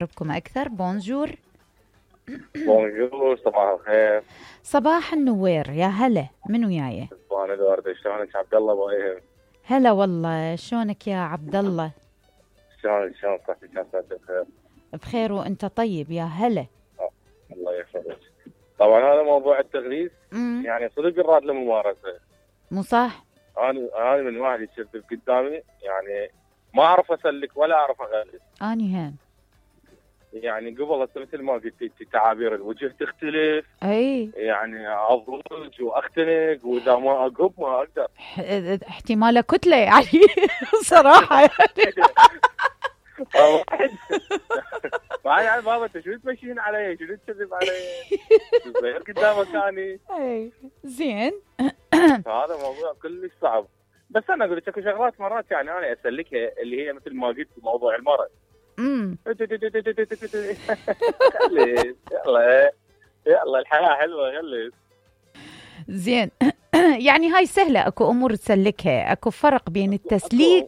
بكم أكثر. بونجور. بونجور، صباح الخير. صباح النوير، يا هلا، من وياي؟ انا الوردة، شلونك؟ عبد الله بايهم. هلا والله، شلونك يا عبد الله؟ شلون صحتك؟ عساك بخير. بخير وانت طيب، يا هلا. الله يحفظك. طبعا هذا موضوع التغليس يعني صدق الراد للممارسة، مو صح؟ انا من واحد يشرب قدامي يعني ما اعرف اسلك ولا اعرف اغلس. اني هم يعني قبل مثل ما قلتي تعابير الوجه تختلف، اي يعني اضوج واختنق، واذا ما اقب ما اقدر. احتمال كتله يعني صراحه يعني. يعني بابا انت شو تمشين علي؟ شو تكذب علي؟ صغير قدام مكاني. اي زين. هذا موضوع كلش صعب، بس انا اقول لك اكو شغلات مرات يعني انا اسلكها اللي هي مثل ما قلت موضوع المرض. يلا الحياه حلوه، غلس. زين. يعني هاي سهله، اكو امور تسلكها، اكو فرق بين التسليك